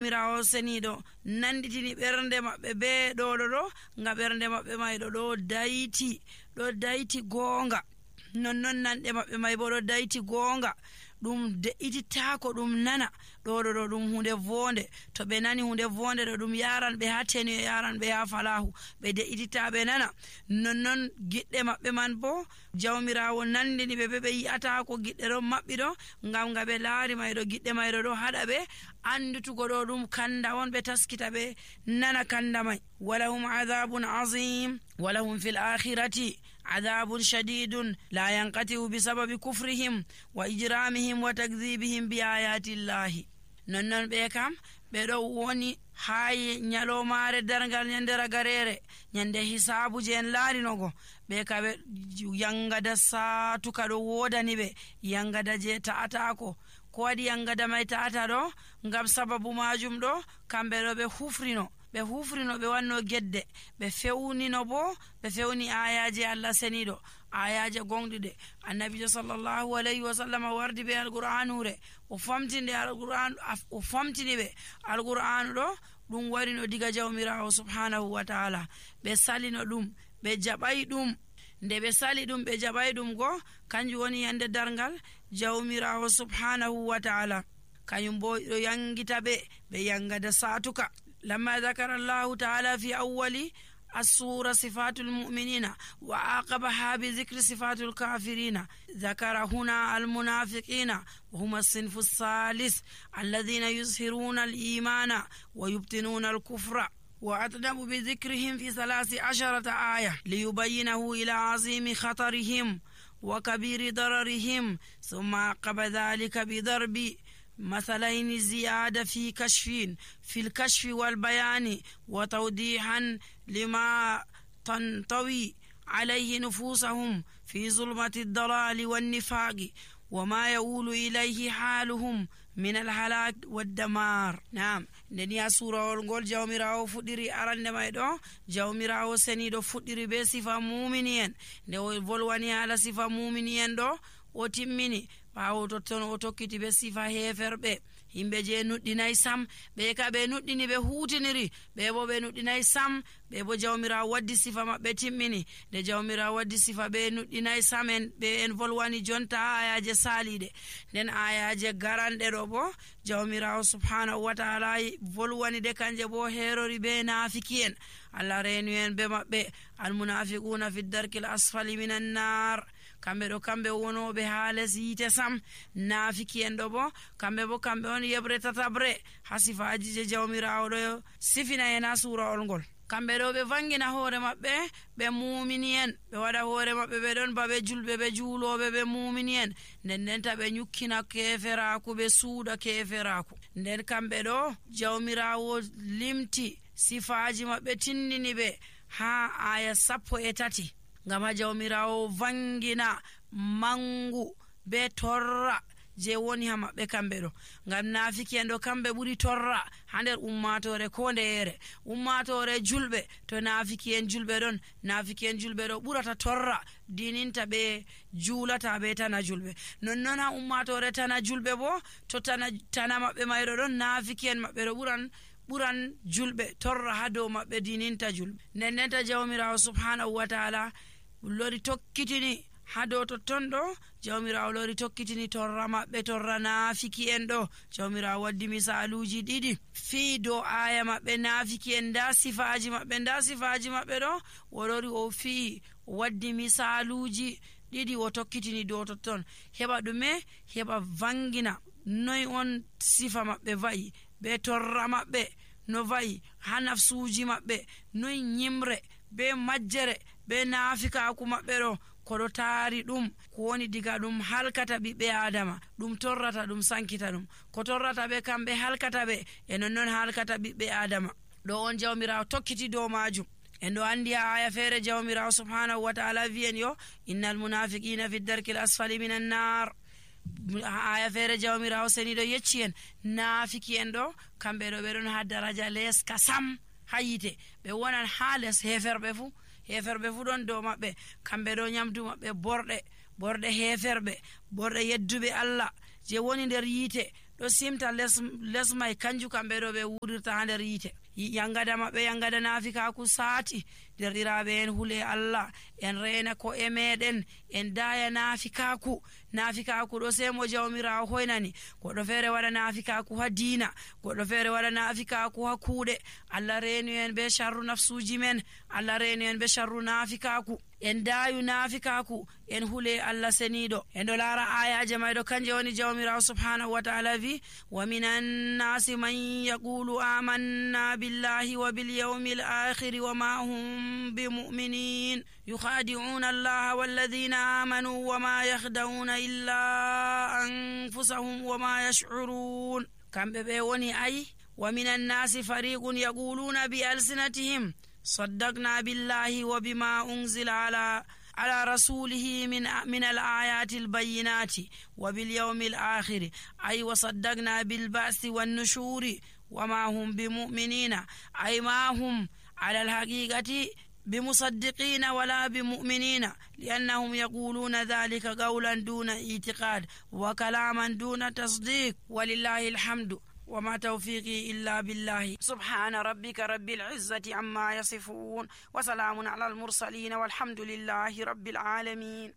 mirawo senido nanditini bernde mabbe be do nga bernde mabbe may do dayti gonga non nande mabbe may bo do dayti gonga dum de'ititaako dum nana do dum hunde vonde to be nani hunde vonde do dum yaran be hateni yaran be ha falahu be de'itita be nana non gidde mabbe man bo jawmirawo nandini be yi'ata ko gidde do mabbi do ngam ngabe laari maydo gidde maydo do hada be andutugo do dum kanda won be taskita be nana kanda may walahum adhabun azim walahum fil akhirati adhabun shadidun la yanqati bisababi kufrihim wa ijramihim wa takdhibihim bi ayati llahi non be kam be do woni hay nyalomare dargal nyande ragarere nyande hisabu je en laari nogo be kabe yangada satu kado wodani be yangada je ta'ata ko wadi yangada may ta'ata do ngam sababu majum do kambe do be hufrino be wanno gedde be fewnino bo be fewni ayaje Allah senido ayaje gongdude annabi sallallahu alaihi wasallam wardi be alquranure o famtinde alquran o famtini be alquran do dum warino diga jawmirawo subhanahu wa ta'ala be salino dum be jabai dum nde be sali dum be jabai dum go kanju woni yande dargal jawmirawo subhanahu wa ta'ala kanyum bo do yangita be yangada satuka لما ذكر الله تعالى في أول السورة صفات المؤمنين وعاقبها بذكر صفات الكافرين ذكر هنا المنافقين وهم الصنف الثالث الذين يظهرون الإيمان ويبطنون الكفر وأتنب بذكرهم في 13 آية ليبينه إلى عظيم خطرهم وكبير ضررهم ثم عقب ذلك بضرب مثلين زيادة في الكشف والبيان وتوضيحا لما تنطوي عليه نفوسهم في ظلمة الضلال والنفاق وما يؤول إليه حالهم من الهلاك والدمار. نعم دنيا سورة الغول جاوميراو فديري أران مايدو جاوميراو سنيدو فديري بصفة مؤمنين دو volwani على صفة مؤمنين دو otimmini bawo ton o tokkiti be sifa heferbe himbe je nuddinay sam be ka be nuddini be hutiniri be bo be nuddinay sam be bo jawmira waddi sifa mabbe timmini de jawmira waddi sifa be nuddinay samen be en volwani jonta ayaje salide den ayaje garande do bo jawmira subhanahu wa ta'ala volwani de kanje bo herori be nafikien Allah renu en be mabbe al munafiquna fi darkil asfali minan nar kambe wono be haales yite sam nafiki en do bo kambe on yebre tatabre hasifaji je jawmirawo do sifina ena sura olgol kambe do be vangina hore mabbe be mu'minien be wada hore mabbe be don babe julbe be juulobe be mu'minien nden ta be nyukkina keferaku be suuda keferaku nden kambe do jawmirawo limti sifaji mabbe tinnini be ha aya 13 ngam jawmirawo vangina mangu be torra je woni ha mabbe kambe do ngam nafiki en do kambe buri torra hander ummatore ko ndeere ummatore julbe to nafiki en julbe do burata torra dininta be julata be tana julbe non ha ummatore tana julbe bo to tana mabbe mayro don nafiki en mabbe do buran julbe torra hado mabbe dininta julbe nennenta jawmirawo subhanahu wa ta'ala lori tokkitini hado to tondo jawmirawo lori tokkitini torra mabbe torra nafiki en do jawmirawo waddi misaluji didi fi do aya mabbe nafiki en da sifaji mabbe do worori o fi waddi misaluji didi o tokkitini do to ton heba dume heba vangina noy on sifa mabbe vai be torra mabbe no vai hanafsuji mabbe noy nyimre be majjere be nafika ku mabbe do ko do taari dum ko woni diga dum halkata bibbe adama dum torrata dum sankita dum ko torrata be kambe halkata be non halkata bibbe adama do on jawmirawo tokkiti do majum en do andi aya fere jawmirawo subhanahu wa ta'ala viyen yo innal munafiqina fi darkil asfali minan nar aya fere jawmirawo senido yeccien nafiki en do kambe do be don ha daraja les kasam hayite be wonan hales heferbe fu don do mabbe kambe do nyamdu mabbe borde heferbe borde yeddube Allah je woni der yite ɗo simta les mai kanju kamɓe ɗo ɓe wurirta ha nder yite. Yangada maɓɓe yangada naafikaku saati. Derɗiraɓe en hule Allah en rena ko e meɗen en daya naafikaku ɗo sai mo jawmirawo hoynani. Goɗɗo feere waɗa naafikaku ha diina, goɗɗo feere waɗa naafikaku ha kuuɗe. Allah renu en be sharru nafsuji men, Allah renu en be sharru naafikaku. En dayu naafikaku en hule Allah seniɗo. En ɗo lara ayaje mayɗo kanje woni jawmirawo subhanahu wa ta'ala wi wa minan nasi man yaqulu amanna billahi wa bil yawmil akhir wa ma hum bimu'minin yukhadi'una Allah walladhina amanu wa ma yakhda'una illa anfusahum wa ma yash'urun. Kamɓe ɓe woni ayi wa minan nasi fariqun yaquluna bi alsinatihim صدقنا بالله وبما أنزل على رسوله من الآيات البينات وباليوم الآخر أي وصدقنا بالبعث والنشور وما هم بمؤمنين أي ما هم على الحقيقة بمصدقين ولا بمؤمنين لأنهم يقولون ذلك قولا دون اعتقاد وكلاما دون تصديق ولله الحمد وما توفيقي إلا بالله. سبحان ربك رب العزة عما يصفون وسلام على المرسلين والحمد لله رب العالمين.